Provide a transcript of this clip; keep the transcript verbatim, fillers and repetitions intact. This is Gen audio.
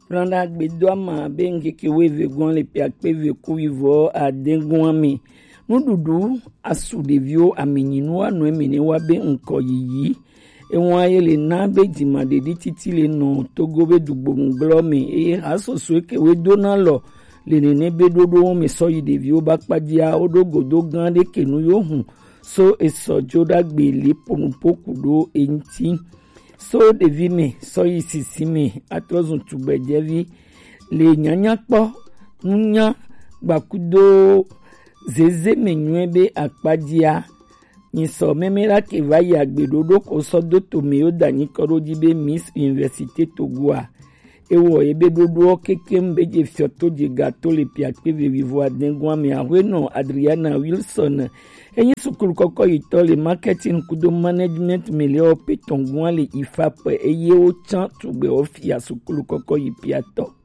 Kplɔn ɖagbe do ama be ŋkeke wuieve gɔn le piakpe ve ku wivɔ adɛn gɔn ame. Nuɖuɖu asu ɖeviwo amenyi nu anɔ eme ne wa be ŋkɔ yiyi. Ewa ye le na be dzimaɖeɖi titi le nɔ Togo be dugbonu gblɔ me eye hasoso ke we do na lɔ le nene be ɖoɖo me sɔ yi ɖeviwo ba kpadzia wo ɖo godo gã ɖe ke nu yo hun so esɔ jo ɖagbe le ponupo ku ɖo eŋti. So ɖevi me sɔ yi sisi me atrɔ zun tugbedzɛvi le nyanya kpɔ nunya gbakudo zeze me nyuie be akpadzia. Nyisɔ meme la ke va yi agbe ɖoɖo ko sɔ do to me yo da nyi kɔ ɖo dzi be Miss Université Togoa. Ewɔ ye be ɖoɖoɔ kekem be je fiɔto je gato le piakpe vevivo adɛn gɔn ame ahwenɔ Adriana Wilson. Enyi sukulu kɔkɔ yi tɔ le marketing kudo management me le o pe tɔngua le ifa pe eye wo tsan tugbe o fia sukulu kɔkɔ yi piatɔ.